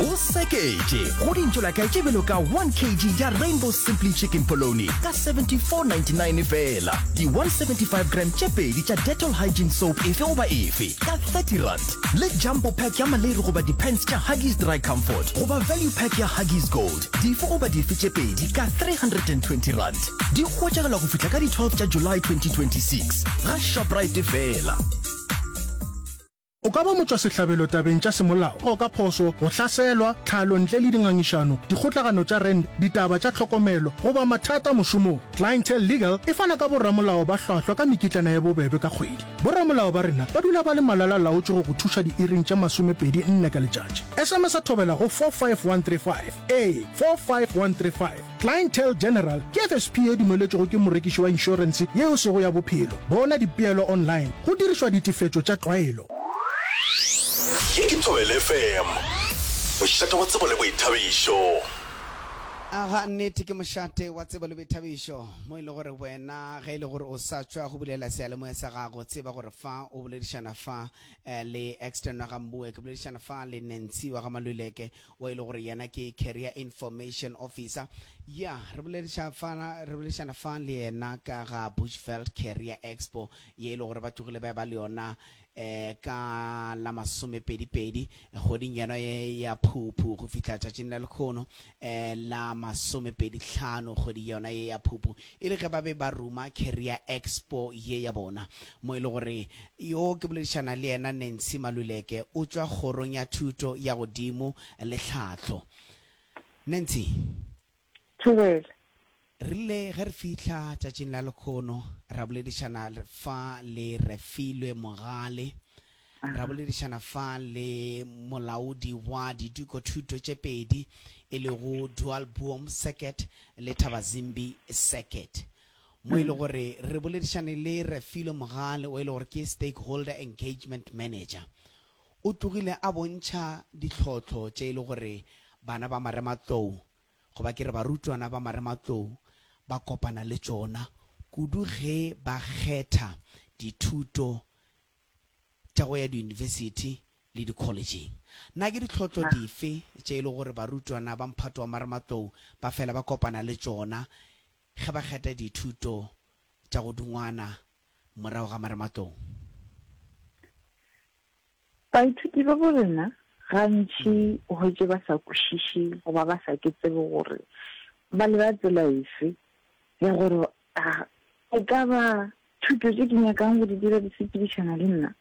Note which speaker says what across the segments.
Speaker 1: O seketše go dintšolakae tše bjalo ka 1 kg ya Rainbow Simply Chicken Polony ka 74.99 feela, di 175 gram tše pedi tša Dettol Hygiene Soap efe goba efe ka R30, le Jumbo Pack ya maleiri goba di-pants tša Huggies Dry Comfort goba Value Pack ya Huggies Gold dife goba dife tše pedi ka R320. Di hwetšagala go fihla ka di 12 tša July 2026 ga Shoprite feela.
Speaker 2: O ka ba motšwasehlabelo tabeng tša semolao, go ka phošo, go hlaselwa, tlhalo ntle le dingangišano, dikgotlagano tša rent, ditaba tša tlhokomelo, goba mathata mošomong. Clientele Legal e fana ka boramolao ba hlwahlwa ka mekitlana ye bobebe ka kgwedi. Boramolao ba rena ba dula ba le malala-laotšwe go go thuša diiring tše 24 ka letšatši. SMS-a thobela go 45135. Ee, 45135. Clientele General ke FSP ye dumeletšwego ke morekiši wa inšorense ye e sego ya bophelo. Bona dipeelo online go dirišwa ditefetšo tša tlwaelo.
Speaker 3: Ye ke Thobela FM, mošate wa tsebo le boithabišo.
Speaker 4: Aga, nnete ke mošate wa tsebo le boithabišo, mo e le gore wena ge e le gore o sa tšwa go bulela seyalemoya sa gago, tseba gore fa o boledišana fa eh, le Exton wa ga Mboe, ke boledišana fa le Nancy wa ga Maluleke, o e le gore yena ke Career Information Officer. Ya, re bolediša fa, re boledišana fa le yena ka ga Bushveld Career Expo ye e le gore ba tlogile ba ba le yona eh ka la masomepedi-pedi kgweding yona ye ya Phuphu go fihla tšatšing la lekhono eh la masomepedi-hlano kgwedi yona ye ya Phuphu, e le ge ba be ba ruma Career Expo ye ya bona mo e le gore Yo ke boledišana le yena Nancy Maluleke, o tšwa Kgorong ya Thuto ya Godimo le Tlhahlo. Nancy.
Speaker 5: Thobela.
Speaker 4: Re rile ge re fihla tšatšing la lekhono ra boledišana fa le Refilwe Mogale, ra boledišana fa le molaodi wa didikothuto tše pedi e lego Dualboom Circuit le Thabazimbi Circuit. Mo e le gore re boledišane le Refilwe Mogale o e le gore ke Stakeholder Engagement Manager. O tlogile a bontšha ditlhohlo tše e le gore bana ba marematlou goba ke re barutwana ba marematlou ba kopana le tšona kudu ge ba kgetha dithuto tša go ya diyunibesithi le dikholetšeng. Na ke ditlhotlo dife tše e le gore barutwana ba mphato wa marematlou ba fela ba kopana le tšona Ge ba kgetha dithuto tša go dungwana morago ga marematlou.
Speaker 5: Baithuti ba bo rena gantši o hwetše ba sa kwešiše goba ba sa ke tsebe gore ba leba tsela efe ya gore a e ka ba thuto tše ke nyakang go di dira di sepedišana le nna,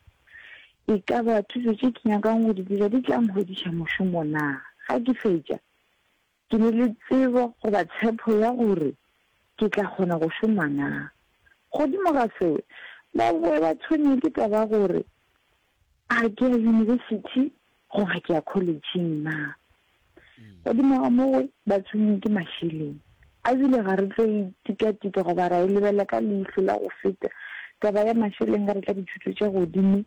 Speaker 5: e ka ba thuto tše ke nyakang go di dira di tla nhwediša mošomo na ga ke fetša. Ke ne le tsebo goba tshepo ya gore ke tla kgona go šoma na? Godimo ga seo, ba boe ba tshwenywe ke taba ya gore a ke ya yunibesithi goba ke ya kholetšheng na? Godimo ga moo, ba tshwenywe ke mašeleng. A bile ga re tlo e tika-tika goba ra e lebelela ka leihlo la go feta taba ya mašeleng ge re tla dithuto tša godimo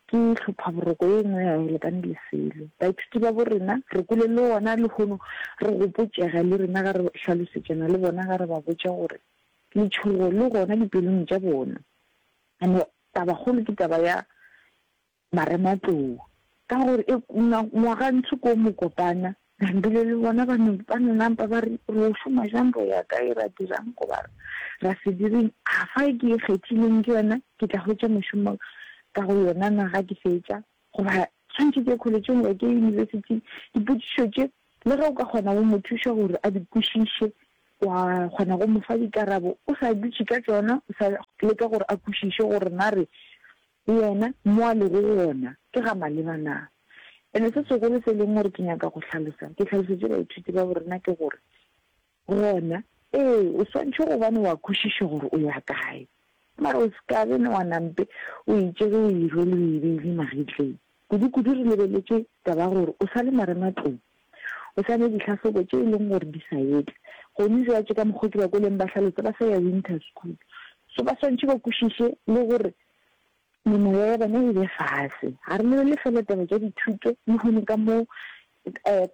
Speaker 5: Ke hlophaboroko ye nngwe ga e lekane le selo. Baithuti ba bo rena, re kwele le gona lehono re gopotšega le rena ga re hlalosetšana le bona ga re ba botša gore letšhogo le gona dipelong tša bona. And tabakgolo ke taba ya marematlou ka gore e ngwagantsho ko mokopana Bile le bona ba no, ba no nampa ba re, Ro šoma bjang, ro ya kae, ra dirang goba ra se direng? A fa e ke e kgethileng ke yona, ke tla hwetša mošomo ka go yona na ga ke fetša? Goba tshwanetše ke ye kholetšeng goba ke ye yunibesithing? Dipotšišo tše, le ge o ka kgona go mo thuša gore a di kwešiše, wa kgona go mo fa dikarabo, o sa dutše ka tšona, o sa leka gore a kwešiše gore na re Yena, mo a lego gona, ke ga maleba na? Ene se segolo se e leng gore ke nyaka go hlalosa, ke hlalosetše baithuti ba borena ke gore, gona, ee, o swantšhe gobane wa kwešiša gore o ya kae. Mara o se ka be wa nampe o itše ge o e rwele o e beile magetleng. Kudu-kudu re lebeletše taba ya gore o sa le marematlou, o sa ne dihlahlobo tše e leng gore di sa etla. Gone jwatše ka mokgo ke ba kweleng ba hlalosa ba sa ya winter school. So ba swantšhe ba kwešiše le gore Memoya ya bona e be fase. Ga re lebelele fela taba tša dithuto, lehono ka mo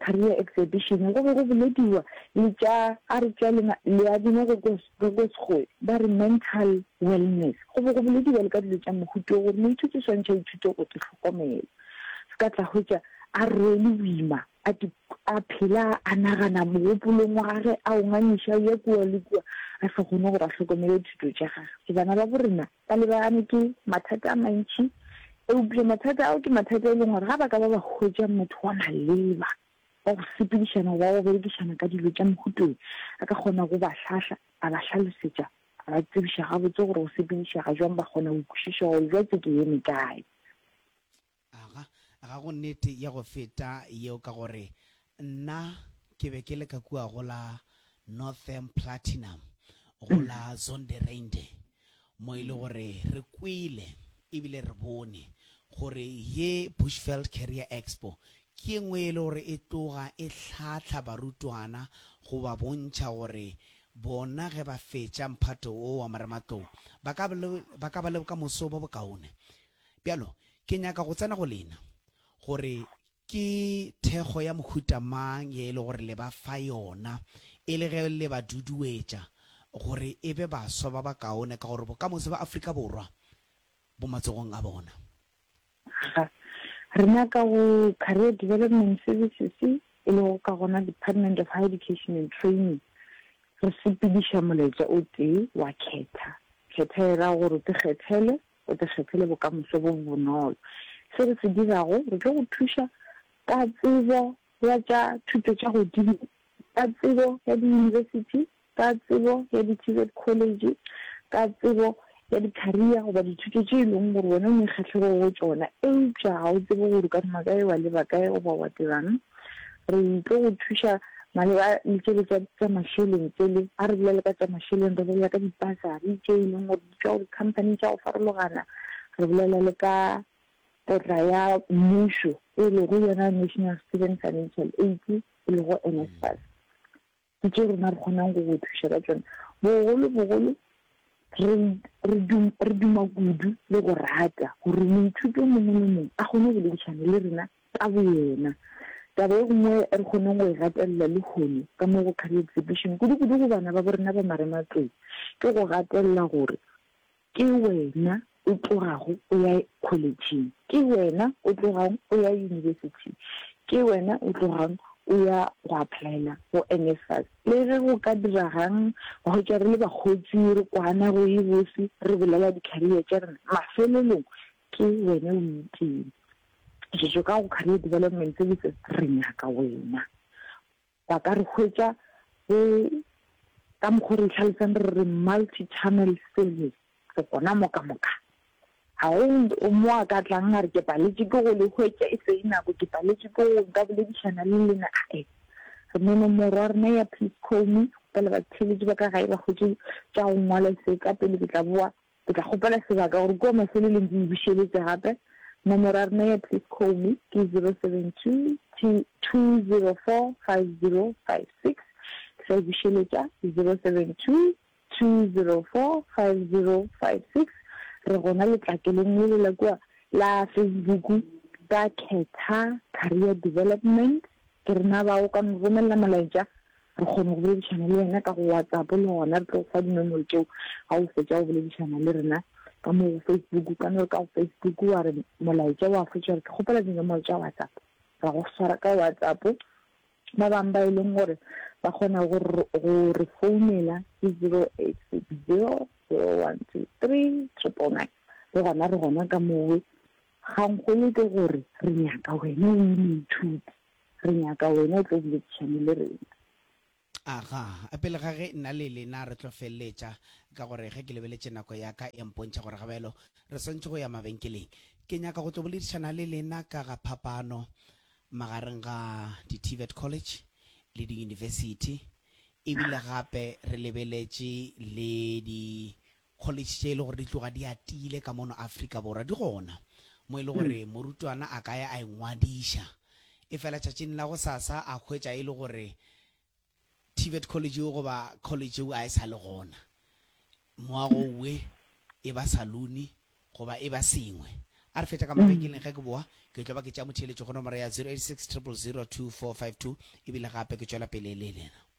Speaker 5: Career Exhibition go be go bolediwa le tša, a re tša leadingwa go ko Sekgowe ba re mental wellness. Go be go bolediwa le ka dilo tša mohuta wo gore moithuti o swantšhe a ithute go te hlokomela. Se ka tla hwetša a rwele boima, a te. a phela a nagana mogopolong wa gage, a o ngangiša o ya kua le kua, a sa kgone gore a hlokomele dithuto tša gage. So bana ba bo rena ba lebagane ke mathata a mantši, eupša mathata ao ke mathata e leng gore ga ba ka ba ba hwetša motho wa maleba wa go sepedišana goba wa go berekišana ka dilo tša mohuta wo, a ka kgona go ba hlahla, a ba hlalosetša, a ba tsebiša gabotse gore go sepedišega bjang, ba kgona go kwešiša gore bjatse ke eme kae.
Speaker 4: Aga, ga go nnete ya go feta yeo ka gore nna ke be ke le ka kua go la Northam Platinum go la Zondereinde mo e le gore re kwele ebile re bone gore ye Bushveld Career Expo ke ye nngwe e le gore e tloga e hlahla barutwana go ba bontšha gore bona ge ba fetša mphato wo wa marematlou ba ka ba ka ba le bokamoso bo bokaone. Bjalo, ke nyaka go tsena go lena, gore ke thekgo ya mohuta mang ye e le gore le ba fa yona, e le ge le ba duduetša gore e be baswa ba bakaone, ka gore bokamoso bja Afrika Borwa bo matsogong a bona.
Speaker 5: Ga rena ka go Career Development Services, e lego ka gona Department of Higher Education and Training, re sepediša molaetša o tee wa khetha. Khetha e ra gore o te kgethele O te kgethele bokamoso bo bo bonolo. Se re se dirago, re tlo go thuša ka tsebo ya tša thuto tša godimo, ka tsebo ya diyunibesithi, ka tsebo ya di-TVET college, ka tsebo ya di-career goba dithuto tše e leng gore wena o ne kgahlego go tšona eupša ga o tsebe gore o ka thoma kae wa leba kae goba wa dirang. Re tlo go thuša maleba le tšele tša tša mašeleng tšele, ga re bolela ka tša mašeleng re bolela ka dipasari tše e leng gore di tšwa go di-company tša go farologana, re bolela le ka potla ya mmušo e lego yona National Student Financial Aid e lego NSFAS. Ke tše rena re kgonang go go thuša ka tšona. Bogolo bogolo re, re, dum, re duma kudu le go rata gore moithuti o mongwe le mongwe a kgone go boledišana le rena ka boyena. Taba e nngwe re kgoneng go e gatelela lehono ka mo go Career Exhibition, kudu-kudu go bana ba bo rena ba marematlou, ke go gatelela gore Ke wena o tlogago o ya kholetšheng. Ke wena o tlogang o ya yunibesithing. Ke wena o tlogang o ya go applyela go NSFAS. Le ge go ka diragang, wa hwetša re le bakgotsi, re kwana go e bose, re bolela di-career tša rena, mafelelong ke wena o iteng. Šetšo ka go Career Development Services re nyaka wena. Ba ka re hwetša go, ka mokgo re hlalosang re re multi-channel service, re gona mo ka moka. Ga go mo a ka tlang a re ke paletše ke go le hwetša e se e nako, ke paletše ke go nka boledišana le lena, ae. Re ne nomoro ya rena ya please call me, bjale batheeletši ba ka gae ba hwetše tša go ngwala se ka pele ke tla boa Ke tla kgopela sebaka gore kua mafelelong ke e bušeletše gape. Nomoro ya rena ya Please Call Me ke 072 204 5056. Ke sa e bušeletša, 072 204 5056. Re gona letlakeleng lele la kua la Facebook ka Khetha Career Development. Ke rena bao, o ka no romelela molaetša Re kgone go boledišana le wena ka go WhatsApp le gona re tlo go fa dinomoro tšeo ga o fetša go boledišana le rena ka mo go Facebook. Ka no re ka go Facebook wa re molaetša wa fetša re ke kgopela dinomoro tša WhatsApp, ra go swara ka WhatsApp. Ba bangwe ba e leng gore ba kgona go go re founela ke 0860 0123 999 le gona re gona ka mowe. Kgangkgolo ke gore re nyaka wena o le moithuti. Re nyaka wena o tlo boledišane le rena.
Speaker 4: Aga, pele ga ge nna le lena re tlo feleletša, ka gore ge ke lebeletše nako ya ka e mpontšha gore gabjalo re swanetše go ya mabenkeleng, ke nyaka go tlo boledišana le lena ka ga phapano magareng ga di-TVET college le diyunibesithi, ebile gape re lebeletše le di College tše e le gore di tloga di atile ka mono Afrika Borwa di gona mo e le gore morutwana a ka ya a ingwadiša efela tšatšing la gosasa a hwetša e le gore TVET college eo goba college eo a e sa le gona, moago owe e ba saluni goba e ba sengwe. A re fetša ka mabenkeleng ge ke boa ke tlo ba ke tšea motheeletšo go nomoro ya 086 000 2452 ebile gape ke tšwela pele le lena.